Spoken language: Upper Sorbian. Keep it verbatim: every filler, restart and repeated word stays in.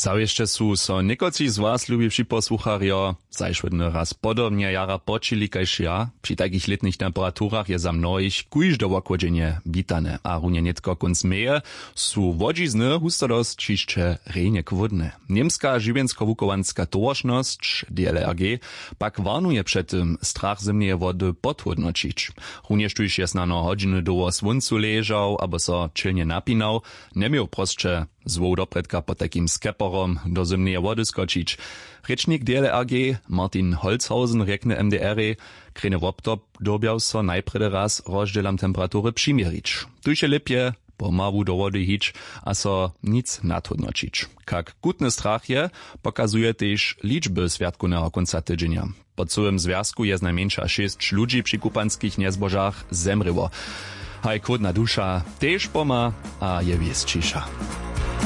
Zawěsće su so někotři z was, lubi připosłucharjo, zašłodny raz podobnje jara počili kaž ja. Při takich lětnych temperaturach je za mnohich kóžde wochłodźenje witane a runje nětko kónc meje su łodźizny hustodosć hišće rjenje chłódne. Němska žiwjenskowuchowanska towaršnosć, dlrg, pak warnuje před tym, strach zymneje wody podhódnoćić. Runjež tuž je snano hodźiny dołho słóncu ležał abo so ćelnje napinał, njeměł prosće zwoł doprědka pod takim skeporom do zymneje wody skočić. Rěčnik dlrg martin holzhausen rjekny mdr-ej, krejny wobtob dyrbjał so najprjedy raz rozdźělam temperatury přiměrić. Tuž je lěpje pomału do wody hić a so nic nadhódnoćić. Kak chutny strach je, pokazuje tež ličby swjatkowneho kónca tydźenja. Po cyłym zwjazku je znajmjeńša šěsć ludźi při kupanskich njezbožach zemrěło. Haj chłódna duša tež pomha a je wěsćiša.